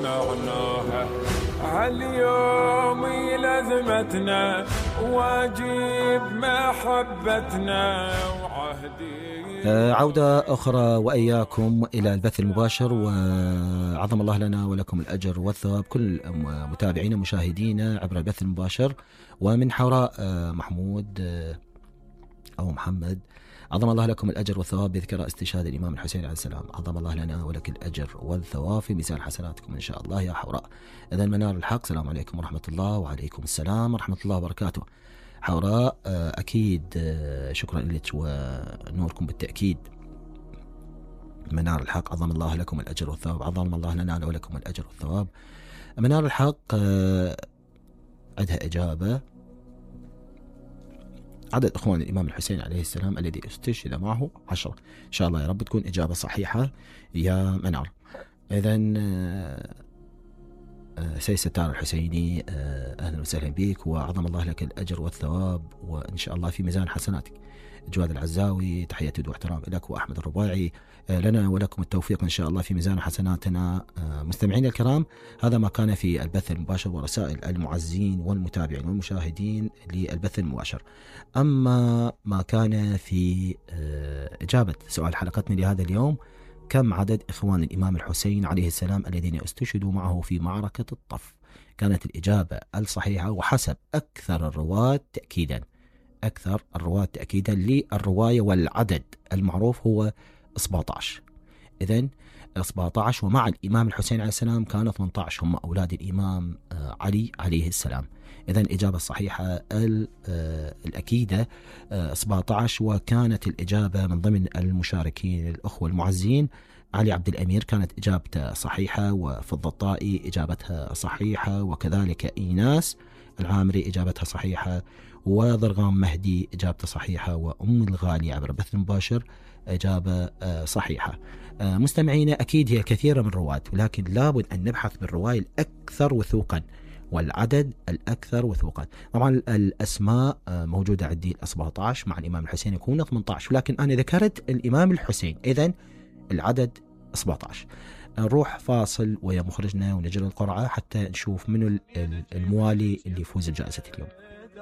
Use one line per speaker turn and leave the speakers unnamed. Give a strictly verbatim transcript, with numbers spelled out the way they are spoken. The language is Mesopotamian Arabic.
معناها هاليوم لازمتنا واجب محبتنا وعهدي.
عودة أخرى وإياكم إلى البث المباشر، وعظم الله لنا ولكم الأجر والثواب كل متابعينا ومشاهدينا عبر البث المباشر. ومن حوراء محمود أو محمد، عظم الله لكم الأجر والثواب بذكرى استشهاد الإمام الحسين عليه السلام. عظم الله لنا ولك الأجر والثواب في ميزان حسناتكم إن شاء الله يا حوراء. إذا منار الحق، السلام عليكم ورحمة الله. وعليكم السلام ورحمة الله وبركاته. حوراء أكيد شكرا لك ونوركم بالتأكيد. منار الحق، عظم الله لكم الأجر والثواب. عظم الله لنا ولكم الأجر والثواب. منار الحق عندها إجابة. عدد إخوان الإمام الحسين عليه السلام الذي استشهد معه عشرة. إن شاء الله يا رب تكون إجابة صحيحة يا منار. إذن سيد ستار الحسيني، أهلا وسهلا بك، وعظم الله لك الأجر والثواب وإن شاء الله في ميزان حسناتك. جواد العزاوي، تحية واحترام لك. وأحمد الرباعي، لنا ولكم التوفيق إن شاء الله في ميزان حسناتنا. مستمعين الكرام، هذا ما كان في البث المباشر ورسائل المعزين والمتابعين والمشاهدين للبث المباشر. أما ما كان في إجابة سؤال حلقتنا لهذا اليوم: كم عدد إخوان الإمام الحسين عليه السلام الذين استشهدوا معه في معركة الطف؟ كانت الإجابة الصحيحة وحسب أكثر الرواة تأكيدا أكثر الرواة تأكيدا للرواية والعدد المعروف هو سبعة عشر. إذن سبعة عشر، ومع الإمام الحسين عليه السلام كانوا ثمانية عشر هم أولاد الإمام علي عليه السلام. إذن الإجابة الصحيحة الأكيدة سبعة عشر. وكانت الإجابة من ضمن المشاركين الأخوة المعزين علي عبد الأمير كانت إجابته صحيحة، وفضل الطائي إجابتها صحيحة، وكذلك إيناس العامري إجابتها صحيحة، وضرغام مهدي إجابته صحيحة، وأم الغالي عبر البث المباشر إجابة صحيحة. مستمعينا، أكيد هي كثيرة من الرواة، ولكن لابد أن نبحث بالرواية الأكثر وثوقا والعدد الأكثر وثوقا. طبعا الأسماء موجودة عندي سبعة عشر، مع الإمام الحسين يكون ثمانية عشر، لكن أنا ذكرت الإمام الحسين، إذن العدد سبعة عشر. نروح فاصل ويا مخرجنا ونجري القرعة حتى نشوف منو الموالي اللي يفوز بجائزة اليوم.